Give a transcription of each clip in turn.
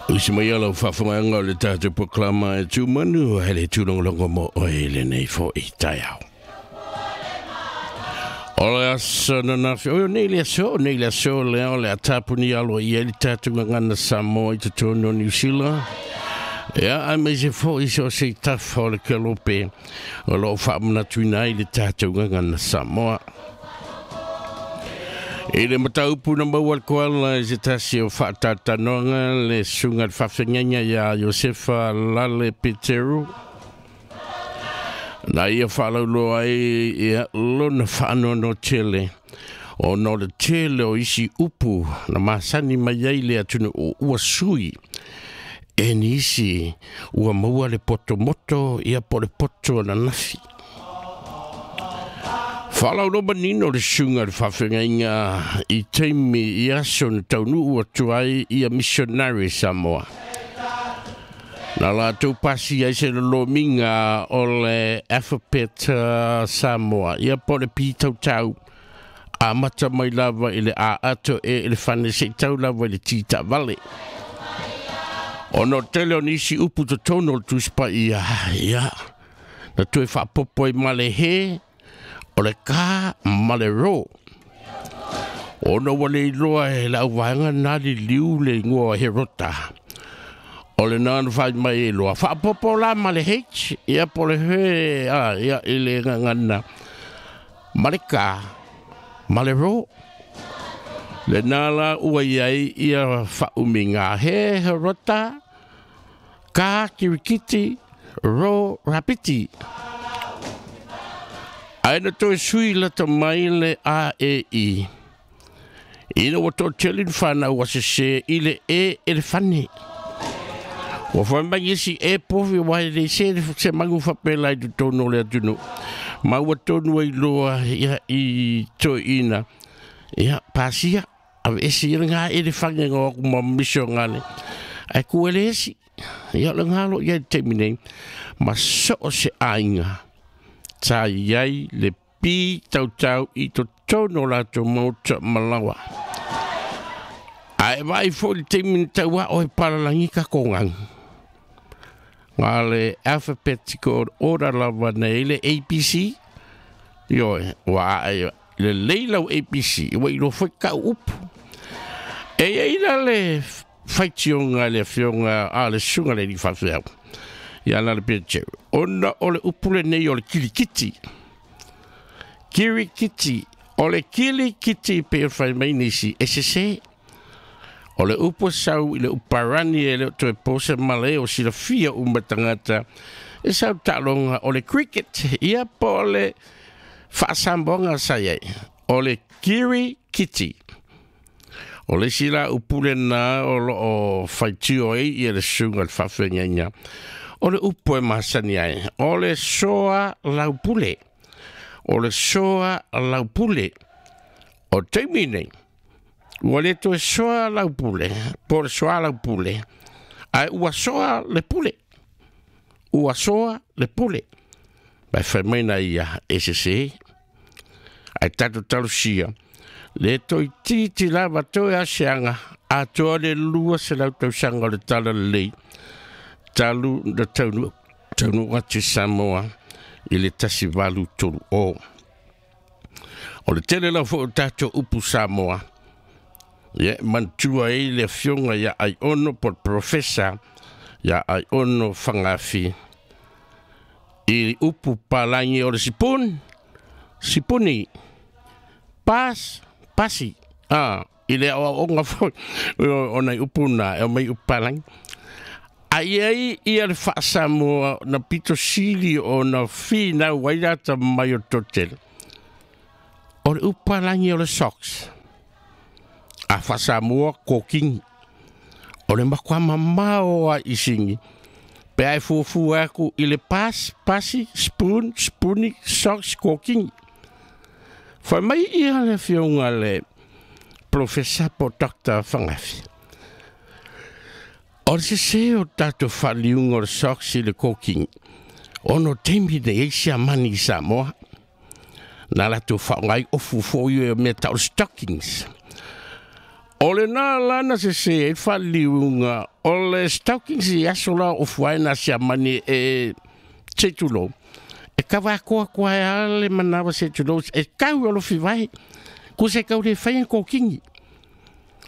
Usi mai ala o faafogaaga o le tatou polokalama e tumanu ai le tūlogologo mo oe i lenei fo'i taeao. O le aso ananafi, oi o nei le aso, o nei le aso lea o le a tapuni aloaia ai le tatou gagana Samoa i totonu o Niu Sila. Ia, aemaise foi so o se tafa o le kelope o lo o faamanatuina ai le tatou gagana Samoa. I le mataupu na maua le koala i se tasi o faatalanoaga le susuga i le faafeagaiga iā Iosefa Lale Peteru, na ia faalauloa ai ia lona faanoanoa tele ona o le tele o isi upu na masani mai ai le atunuu ua sui e nisi ua maua le poto moto ia po o le poto ananafi. Faalauloa manino le susuga i le faafeagaiga i taimi i aso na taunuu atu ai ia missionary Samoa. Na latou pasia ai se lolomiga o le alphabet Samoa, ia po o le pitautau, amata mai lava i le A ato e elefane seia tau lava i le T taavale. Ona o le tele o nisi upu totonu o le Tusi Paia, ia, na toe faaopoopo ai ma le he, o le ka ma le ro. Ona ua le iloa e le auvaega na liliu le igoa o Herota. O lena na fai mai ai loa, faaopoopo la ma le H, ia po o le he, a, ia, i le gagana, ma le ka, ma le ro. Lena la ua i ai ia faaumiga he Herota, ka kirikiti, ro rapiti. Ae na toe sui lata mai le A E I. Ina ua toatele ni fanau ua sesē i le E elefane. Ua fai mai nisi e povi aua e le se se manu faapela i totonu o le atunuu. Ma ua tonu ai loa ia i toeaiina ia pasia aveese ia lena elefane na o atu ma misionale ae tu e le esi. Ia o lena o lo o i ai i le taimi nei ma so o se aiga sa i ai le pitautau i totonu o latou maota ma laoa. Ae vaai foi i le taimi na tauao ai palalagi tatou ganu. Na o le alphabetical order lava na i ai le ABC, ioe, ua ae lelei lau ABC, ua iloa foi tau upu. E i ai la le faitioga a le afioga a le susuga i le alii faafeau ia Lale Peteru, ona o le upu lenei o le kilikiti. Kirikiti, o le kilikiti pei ona fai mai nisi e sese. O le upu e sau i le uparani e le o toe po se mala e o silafia uma tagata e sau taaloga o le cricket, ia po o le faasamoaga sa i ai, o le kirikiti. O le isi la upu lena o lo o faitio ai ia le susuga i le faafeagaiga, o le upu e masani ai, o le soa laupule. O le soa laupule. O le taimi nei, ua le toe soa laupule, po o le soa laupule, ae ua soa le pule. Ua soa le pule. Ma e fai mai na ia e sese, ae tatou talosia, le toeitiiti lava toe asiaga atoa le 200 tausaga o le Talalelei talu na taunuu taunuu atu i Samoa i le 1830. O le tele lava foi o tatou upu Samoa, ia e manatua ai le afioga ia Aiono po o le Professor ia Aiono Fagafi i upu palagi o le sipun, sipuni, pas, pasi, a, i le aoaoga foi o nai upu na e aumai upu palagi. A i ai ia le faa-Samoa na pito sili ona finau ai le atamai o le toatele, o le upu palagi o le socks. A faa-Samoa, kokini. O le matua mamao lava i sini pe a e fuafua atu i le pas, pasi, spoon, spuni, socks, kokini. Fai mai ia le afioga le Polofesa po o Doctor Fagafi, o le sese o le tatou faaliuga o le socks i le kokini, ona o taimi nei ai siamani i Samoa, na latou faaaoga ai ofu foi o mea tau o le stockings. O lena lana se se e whaliunga o le stockings i aso la o fuaina siamani e te tulo. E kawa koa koa e ale manawa se tulo e kau o lofi vai. Ku se kau le whaia kōkingi.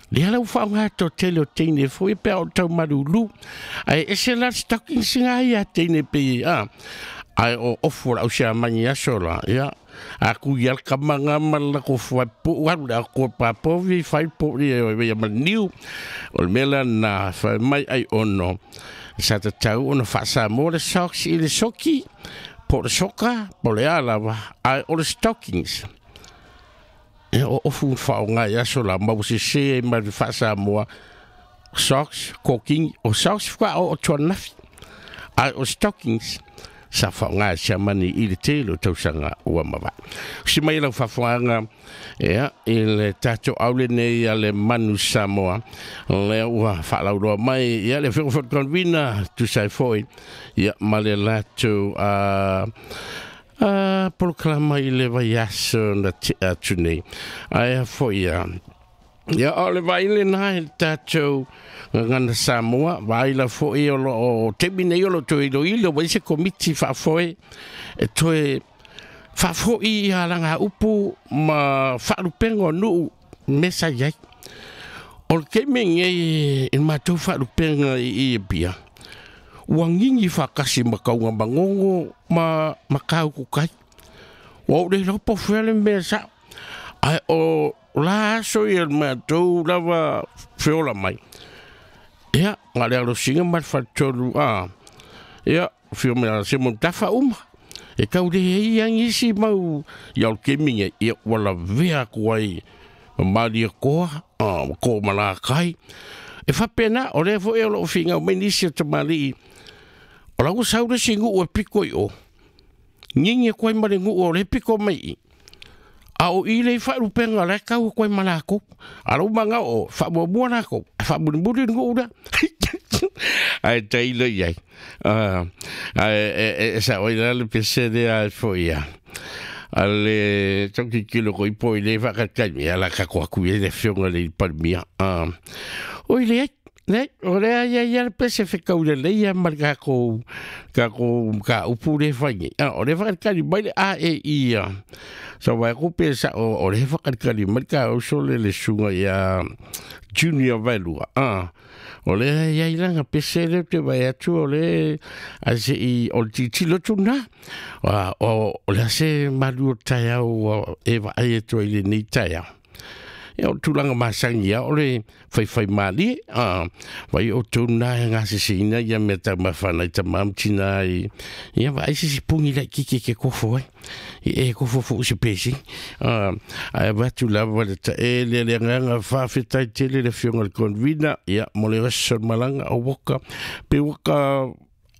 Lea lau whaonga tō tele o teine fo e pea o tau marulu. Ai e se la stockings ngā ia teine pe a. Ai o ofu lau siamani aso la, ia. A ku i al kamanga mala ko fua pu waru la ko pa povi fai po ni e ia maniu. O le mela na fai mai ai ono. Sa te tau ono whaasa mo le socks i le soki. Po le soka, po le alawa, ai o le stockings. E o ofu whaonga i aso la mau se se e mai whaasa moa socks, koking, o socks wha o tuanafi. Ai o stockings. Sa whaonga e siamani i le tele o tausanga ua mawa. Si mai lau whawhaanga, ea, i le tātou aule nei a le Manu Samoa, lea ua whaalauroa mai, ia le whio whakakonvina, tusai foi, ia ma le lātou polokalama i le vaiaso na te atu nei. Aia foi ia, ia o le vaile nā i le tātou ngana Samoa, vaila foi o lo o temi nei o lo toe ilo ilo, wai se komiti whaafoe, e toe whaafoi i a langa upu ma whaalupenga o nuu mesa iai. O le keime ngei i mātou whaalupenga i e pia. Ua ngingi whakasi makaunga mangongo ma makau kukai. Ua ure lopo whiale mea sa. Ai o la aso i el mātou lava whiola mai. Ia, ngā lea rosinga mai whatolu, a. Ia, whio mea se mo tawha uma. E kau le hei angi si mau i au keminga, ia wala vea kuai malia koa, a, ko malakai. E whapena, o lea fo e o lo whinga o mai nisi o tamali. O lau saure si ngu e piko i o. Ngingi koe mare ngu o le piko mai i. A o i le whaarupenga le kau koe malako. A lau manga o whaamua lako. Whaamunimuri ngu ura. Ai teila iai. Ai e sa oi la le pese de ai fo ia. A le toki kilo ko ipo i le whakatai mea la kako aku e le whionga le palmia. Oi le ai. Ne, o lea ia ia le pese whekau le leia ma ka ko ka upu le whaingi. O le whakatikari mai le a e ia. So wai ko pesa o le whakatikari mai ka uso le le sunga ia Junior Vailua. O le ia ilanga pese le te vai atu o le ase i o le titilo tuna. O le ase malu o taiau e wa ai e toi le nei taiau. Ia o tūlanga masangi ia o le whaiwhai maali, vai o tūna e ngā sisina ia mea tau mawhana i tamamtina i, ia vai sisi pungi lai kike ke kofo ai, i e kofo fo se pesi, ai watu lava le ta e le le nganga whawhetai tele le whionga le konvina, ia mo le rasa malanga o waka, pe waka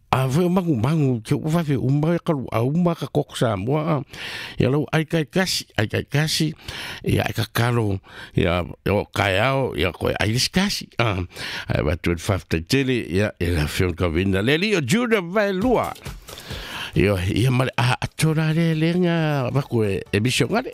a voi mangu mangu ke u vave uma ka lu a uma ka koko Samoa ia lau ai kai kasi ia ai ka kalo ia o kaiao ia koe ai les kasi ai watu e whawhetai tele ia e la whionga konvina le li o Junior Vailua ia ia male a atora le lenga wako e misionare.